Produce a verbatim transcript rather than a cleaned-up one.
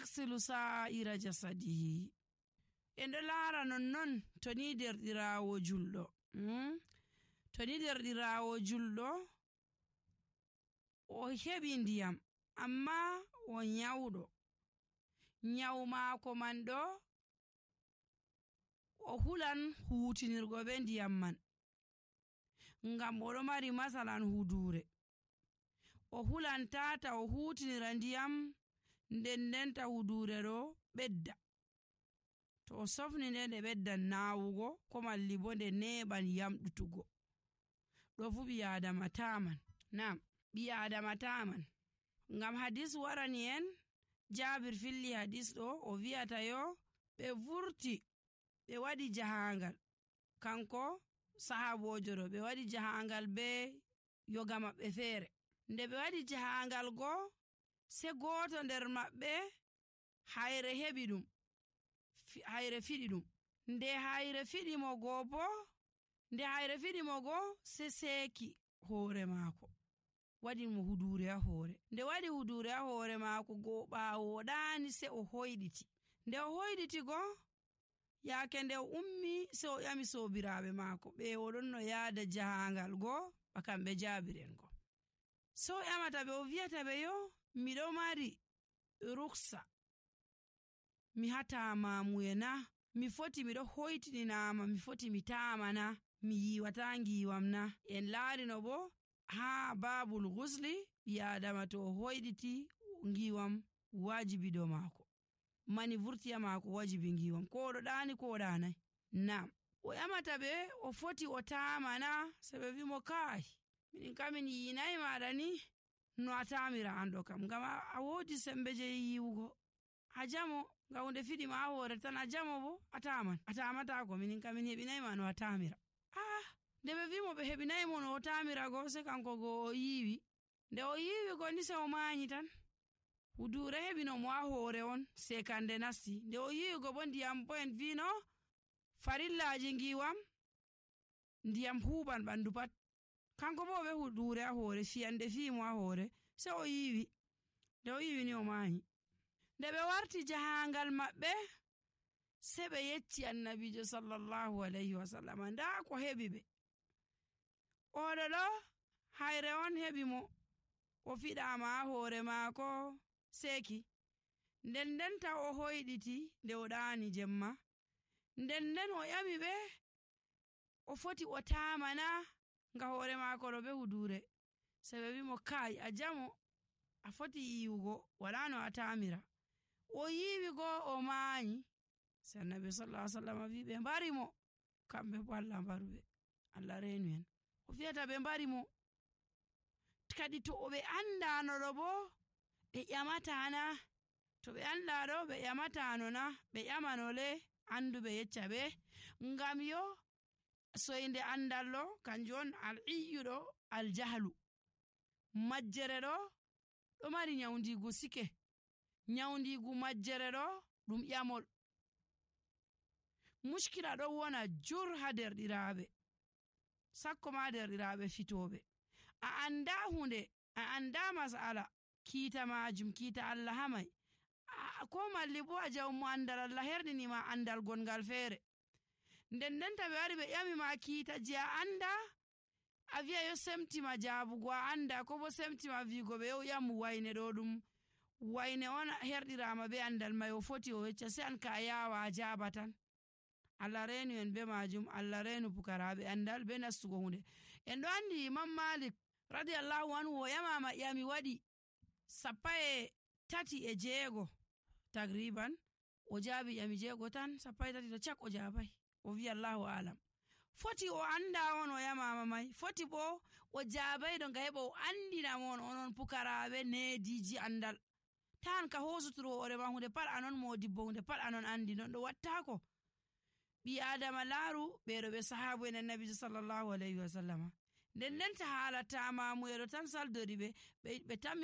yaghsilu sa'ira jasadihi. En ɗo laara nonnon to ni derɗiraawo julɗo mm? to ni derɗiraawo julɗo o heɓi ndiyam amma o nyawɗo, nyawu maako man ɗo o hulan huutinirgo be ndiyam man ngam o ɗo mari masalan huduure. O hulan tata o huutinira ndiyam nden ndenta huduure ɗo ɓedda. To o sofni nde nde ɓeddan naawugo ko malli bo nde neeɓan yamɗutugo. ɗo fu ɓi adama taman. Nam ɓi adama taman ngam hadis warani en, Jabir filli hadis ɗo o wi'ata yo ɓe vurti ɓe waɗi jahangal, kanko sahabojo ɗo ɓe waɗi jahangal be yoga maɓɓe feere. Nde ɓe waɗi jahangal go se goto nder maɓɓe hayre heɓi ɗum, hayre fiɗi ɗum. Nde hayre fiɗi mo go bo nde hayre fiɗi mo go se seeki hoore maako, waɗi mo huduure ha hoore. Nde waɗi huduure ha hoore maako go ɓaawo ɗaani se o hoyɗiti. Nde o hoyɗiti go yaake nde o ummi se o ƴami soobiraaɓe maako ɓe o ɗon no yaada jahangal go ba kamɓe jaabiren go. So o ƴamata ɓe o wi'ata ɓe yo miɗo mari ruksa mi hatamamuye na, mi foti miɗo hoytininama mi foti mi tamana mi yiwata ngiwam na. En laarino bo ha babul gusli ɓi adama to o hoyɗiti ngiwam wajibi do maako, mani vurtiya maako wajibi ngiwam ko ɗo ɗaani ko ɗanai. Nam o ƴamata ɓe o foti o tamana, se ɓe wimo kai min kamin yinayi maɗa ni no a tamira an ɗo kam, ngam a wodi sembe je yiwugo a jamo nga hunde fiɗi ma a hoore tan a jamo bo a taman a tamatako min kamin heɓinayi ma no a tamira. Ah, nde ɓe wimo ɓe heɓinayi mo no o tamira go se kanko go o yiwi. Nde o yiwi go ni se o mañi tan, huduure heɓino mo ha hoore on sekande nasti. Nde o yiwi go bo ndiyam bo en vino farillaji ngiwam ndiyam huɓan ɓandu pat, kanko bo ɓe huduure ha hoore fiyande fiimo ha hoore se o yiwi. Nde o yiwi ni o mañi. Nde ɓe warti jahangal maɓɓe se ɓe yecci annabijo sallallahu alayhi wa sallam nda ko heɓi ɓe. Oɗo ɗo hayre on heɓi mo, o fiɗama ha hoore maako seeki. Nden ndenta o hoyɗiti nde o ɗaani jemma. Nden nden o ƴami ɓe o foti o tamana nga hoore maako ɗo ɓe huduure. Se ɓe wimo kai a jamo a foti yiwugo wala no a tamira. O yiwi go o mañi. Se annabi sallallahu alaihi wasallam wi ɓe mbari mo, kamɓe bo Allah mbaruɓe, Allah reenu en. O fiyata ɓe mbari mo kadi to ɓe andano ɗo bo ɓe ƴamatana, to ɓe anda ɗo ɓe ƴamatano na, ɓe ƴamanole anduɓe yecca ɓe, ngam yo soyde andal ɗo kanjum on al iyyuɗo al jahlu. Majjere ɗo ɗo mari nyawndigu sike, nyawndigu majjere ɗo ɗum ƴamol. Mushkila ɗo wona jur ha derɗiraaɓe, sakko ma derɗiraaɓe fitoɓe. A anda hunde, a anda masala kiita majum, kiita Allah hamai, ko malli bo a jawmo andal Allah herdinima andal gongal feere. Nden ndenta ɓe wari ɓe ƴami ma kiita je a anda, a wi'a yo semtima jaabugo a anda, ko bo semtima wigo ɓe yo ƴamu wayne ɗo ɗum wayne on herɗirama be andal mai o foti o yecca, se an ka a yawa a jaaba tan. Allah reenu en be majum, Allah reenu pukaraɓe andal be nastugo hunde. En ɗo andi Imam Malik radiyallahu anhu o ƴamama ƴami waɗi sappa e tati e jeego tagriban, o jaabi ƴami jeego tan, sappa e tati to cak o jaabai. O wi Allahu alam. Foti o anda on o ƴamama mai, foti bo o jaabai ɗo nga heɓa o andina mon onon pukaraɓe nediji andal. Tan ka hosuturo hoore ma hunde pat anon modibbo, hunde pat anon andi, non ɗo wattako. Ɓi adama laaru ɓeɗo ɓe sahabu en annabijo sallallahu alayhi wa sallama. Nden ndenta haala tamamuyeɗo tan saldori ɓe ɓe tammi